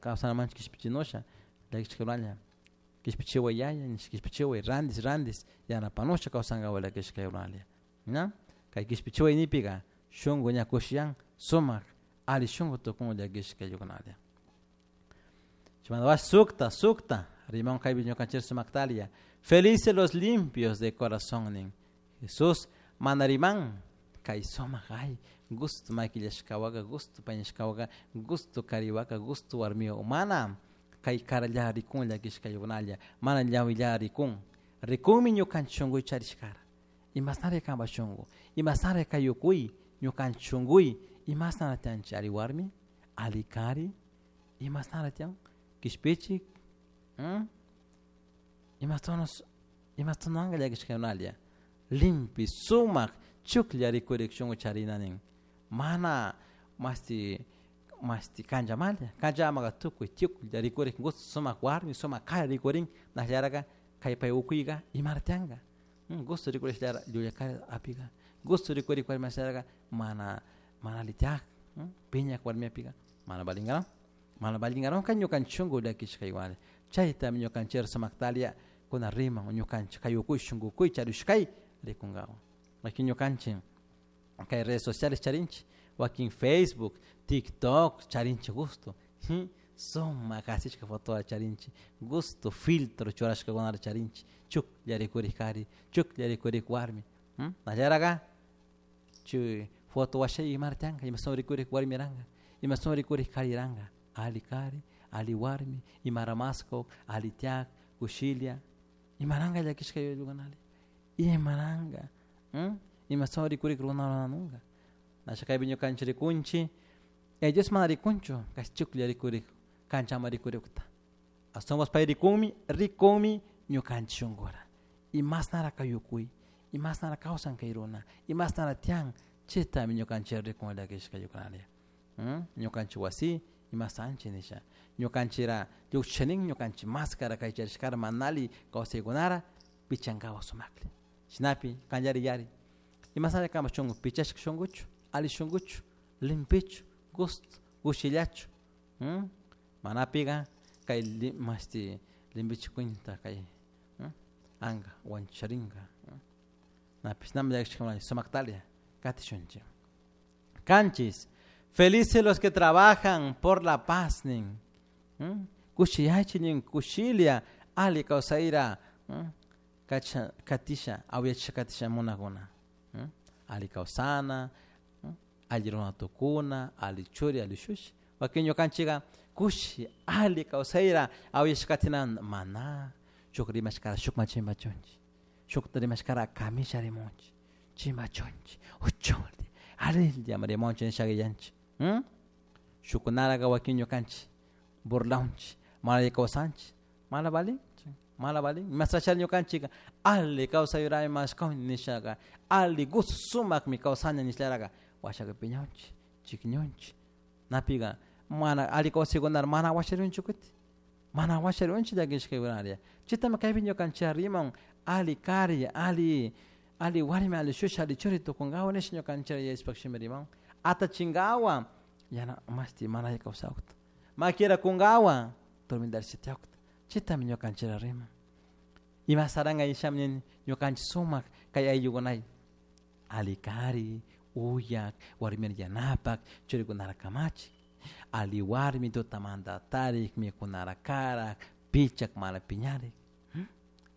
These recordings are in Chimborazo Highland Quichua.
Kawsanamanchik kishpichinusha llakishkakunalla kishpichiway yaya nish kishpichiway randis randis yanapanusha kawsankawa llakishkakunalla ña kay kishpichiway nipika shunku ña kushiyan sumak ali shunku tukun llakishkayukunalla. Chimanda sukta sukta rimon kaypi ñukanchik sumaktalia felices los limpios de corazón nin Jesús mana riman kay sumak ay gusto makillashkawaka gusto pañashkawaka gusto kariwaka gusto warmiwa mana kay karalla rikun llakishkayukunalla mana llawilla rikun rikunmi ñukanchik shunkuy charishkara imashnara kanpak shunku imashnara kayukuy ñukanchik shunkuy imashnara tiyanchik ari warmi ali kari imashnara tiyan kishpichik imastunanka llakishkakunalla limpi sumak chuklla rikurik shunku charina nin mana masti masti kanchamalla kanchamaka tukuy chuklla rikurik gusto sumak warmi sumak kari rikurin nashllaraka kay pay ukuyka imara tiyanka gusto rikurishlara llulla kari apika gusto rikurik warmi ashllaraka mana mana alli tiyak piñak warmi apika mana valinkaron mana valinkaron kay ñukanchik shunku llakishkaywan chaytami ñukanchik sumaktalia kuna riman ñukanchik kay ukuy shunkukuy charishkay rikunkawan wakin ñukanchik kay redes sociales charinchik wakin Facebook TikTok charinchik gusto sumak asishka fotoa charinchik gusto filtro churashkakunata charinchik chuklla rikurik kari chuklla rikurik warmi nallaraka chay foto washay imara tiyanka imashun rikurik warmiranka imashun rikurik kariranka ali kari ali warmi imara maskok ali tiyak kushilla imaranka llakishka yuyaykunali imaranka imashun rikurik runanunka nasha kaypi ñukanchik rikunchik ellos mana rikunchu kay chuklla rikurik kanchama rikurikta ashtawanpas pay rikunmi rikunmi ñukanchik shunkura imashnara kayukuy imashnara kawsan kay runa imashnara tiyan chaytami ñukanchik rikun llakishka yukunalla ñukanchik wasi imasanchik nisha ñukanchikra llukchinin ñukanchik máscara kay charishkara mana alli kawsaykunara pichankawa sumaklla shinapi kallari yari imashnara kanpak shunku pichashka shunkuchu alli shunkuchu limpichu gusto kushillachu manapika kay mashti limpichik cuenta kay anka wancharinka napish nami llakishka sumaktalia katishunchik. Kanchis felices los que trabajan por la paz nin kushiyachik nin kushilla alli kawsayra kacha katisha awyachisha katisha munakuna alli kawsana alli runa tukuna alli churi alli shushi wakin ñukanchika kushi alli kawsayra awyashka katina mana shuk rimashkara shukman chimbachunchik shukta rimashkara kamisha rimunchik chimbachunchik uchunli alilla rimunchik nishaka yanchik shukunaraka wakin ñukanchik burlaunchik mana alli kawsanchik mana valin mana valin imasachari ñukanchika alli kawsayurami mashkawni nishaka alli gusto sumakmi kawsani nishlaraka washaka piñanchik chikñunchik napika mana alli kawsaykunara mana washarunchik kutin mana washarunchik llakishkaykunalla chaytami kaypi ñukanchik riman alli kari alli alli warmi alli shushi alli churi tukunkawa nisha ñukanchik yachashpak shimi riman atachinkawa yana mashti mana alli kawsakta makira kunkawa tormentarishka tiyakta chaytami ñukanchik riman ima saranka nishami nini ñukanchik sumak kay ayllukunay alli kari uyak warmira yanapak churikunara kamachik alli warmi tutamanta tarik mikunara karak pichak mana piñarik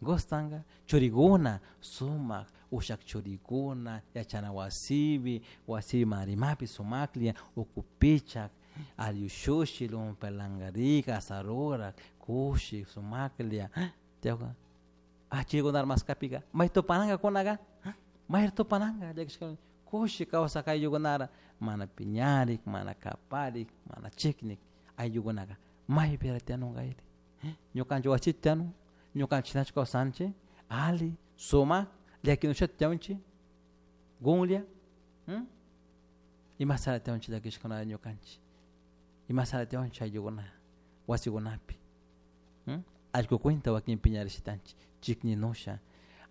gustanka churikuna sumak ushak churikuna yachana wasipi wasipi mana rimapi sumaklla uku pichak alli ushushi lumpelankarik asarurak kushi sumaklla tiyawka chaykunata maskapika may tupananka may tupananka llakishka kushi kawsak ayllukunara mana piñarik mana kaparik mana chiknik ayllukunaka maypira tiyanunka ñukanchik wasita tiyanun ñukanchik shinachu kawsanchik alli sumak llakinushata tiyanchik gunlla imasara tiyanchik llakishkunata ñukanchik imasara tiyanchik ayllukuna wasikunapi allkukunta wakin piñarishitanchik chikninusha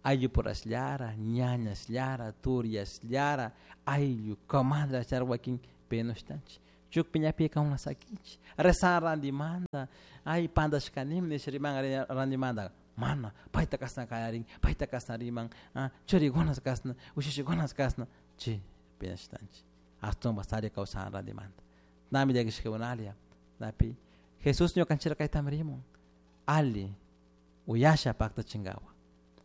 ayllupurashllara ñañashllara turiashllara ayllu comadrashllara wakin penushtanchik Shuk piñapika una sakinchik. Rezan randimanta, ay pantashkanimi nisha riman randimanta. Mana, payta kashna kallarin, payta kashna riman, churikuna kashna, ushushikuna kashna, chi piñashtanchik. Ashtawan sari kawsan randimanta. Nami llakishkakunalia, napi Jesús ñukanchik kaytami rimun, alli uyasha paktachinkawa,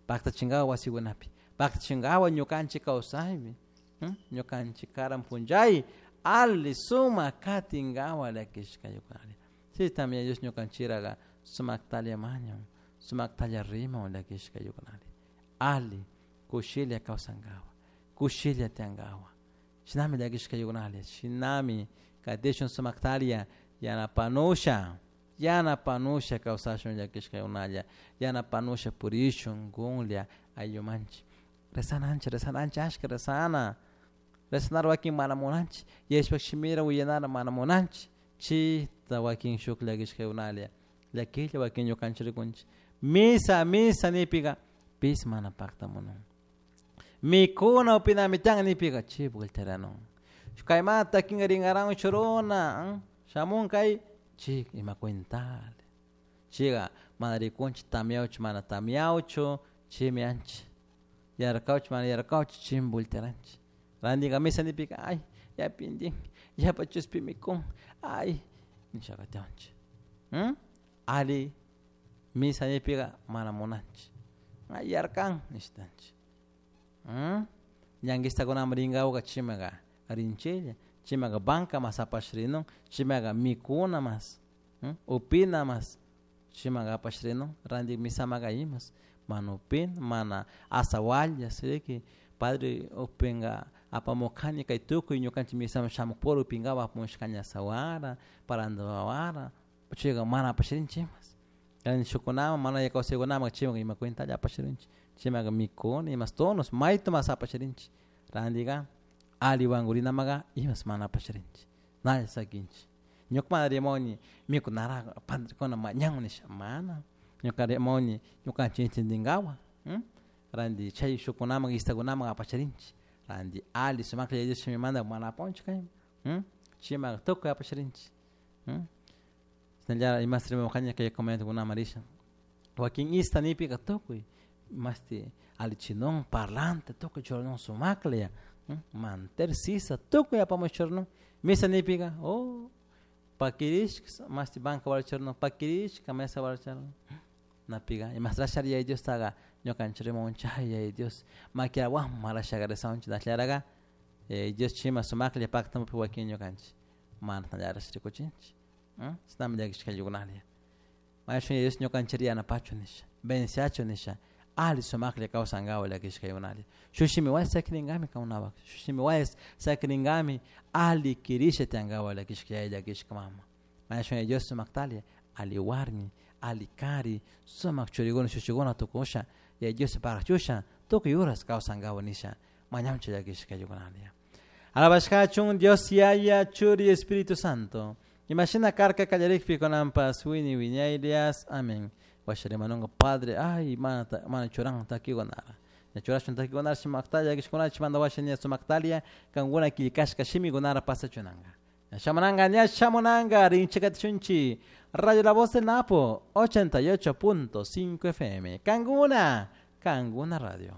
paktachinkawa wasikunapi, paktachinkawa ñukanchik kawsaypi, ñukanchik karan punchay alli sumak katinkawa llakishkayukunalla. Sí, también Dios ñukanchiraga sumaktalla mañan, sumaktalla riman llakishkayukunalla. Alli kushilla kawsankawa, kushilla tiyankawa. Shinami llakishkayukunalla, shinami katishun sumaktaria yanapanusha, yanapanusha kawsashun llakishkaykunalla, yanapanusha purishun kunlla ayllumanchik. Rezananchik, rezananchik, ashka rezana. Rezanar wakin mana munanchik, yashpak shimira willanara mana munanchik. Chita wakin shuk llakishkaykunalla, llakilla wakin ñukanchik rikunchik. Misa, misa nipika, pis mana paktamunun. Mikuna upinami tiyan nipika, chi vueltaranun. Kaymanta takinka rinkaran churuna, shamun kay, chi ima cuentale. Chiga mana rikunchik tamiawchu mana tamiawchu, chimi anchik. Yarkawchu mana yarkawchu, chimi voltearanchik. Randika misa nipika, ay, yapintin, yapa chuspi mikun, ay, nishaka tiyanchik. Ali misa nipika mana munanchik. Ay, yarkan, nishtanchik. Ñanguistakunaman rinkawaka chimaka rinchilla, chimaka banca mas apashrinun, chimaka mikuna mas, upina mas, chimaka apashrinun, randik misamaka imas, mana upina, mana asawallas, riki, padre upinka apamukani kay tukuy ñukanchik misaman shamukpura upinkapak apamushkani asawara, parandawara, chayka mana apashrinchik imas. Shukunaman mana kawsaykunaman chimaka ima cuentalla apashrinchik, chimaka mikuna, imas tonos, mayta mas apashrinchik, randika alli wankurinamaka imas mana apashrinchik, nalla sakinchik. Ñuka mana rimuni mikunara padrekuna mañan nisha, mana, ñuka rimuni ñukanchik entendinkawa, ranti chay shukunaman istakunaman apashrinchik, ranti alli sumaklla Yaya Dios shimimanta mana apanchik kayman, chimaka tukuy apashrinchik. Shinallara imas rimamukani kay comunidadkunaman risha, wakin ista nipika tukuy mashti allichinun parlante tukuy churanun sumaklla, mantel sisa tukuy apamush churanun, misa nipika, oh, pakirishka mashti banca wara churanun, pakirishka mesa wara churanun, napika imasrashari Yaya Diostaga ñukanchik rimamunchik, ay Yaya Dios maquirawan marashaga rezanchik nashlaraga Yaya Dios chima sumaklla paktamupi wakin ñukanchik mana tallarash rikuchinchik. Shinami llakishkayukunalla. Mayashun Yaya Dios ñukanchik yanapachu nisha, beneficiachu nisha, alli sumaklla kawsankawa llakishkaykunalla. Shuk shimiwan sakirinkami kankunapak, shuk shimiwan sakirinkami alli kirisha tiyankawa llakishka yaya llakishka mama. Mayashun Yaya Dios sumaktalla, alli warmi, alli kari, sumak churikuna shushikuna tukusha, Yaya Dios pagachusha, tukuy horas kawsankawa nisha, mañanchik llakishkaykunalla. Alabashkachun Dios Yaya, Churi, Espíritu Santo. Imagina karka kallarikpi kunanpas wini wiñaylias. Amén. Washarimanunga Padre, ay, mana, mana churan takikunara. Ña churashun takikunara shimaktalla, llakishkunara chimanta washa ña sumaktalia, kankuna killkashka shimikunara pasachunanga. Ña shamunanga, ña shamunanga, rinchikatishunchi. Radio La Voz del Napo, 88.5 FM. Kanguna, Kanguna Radio.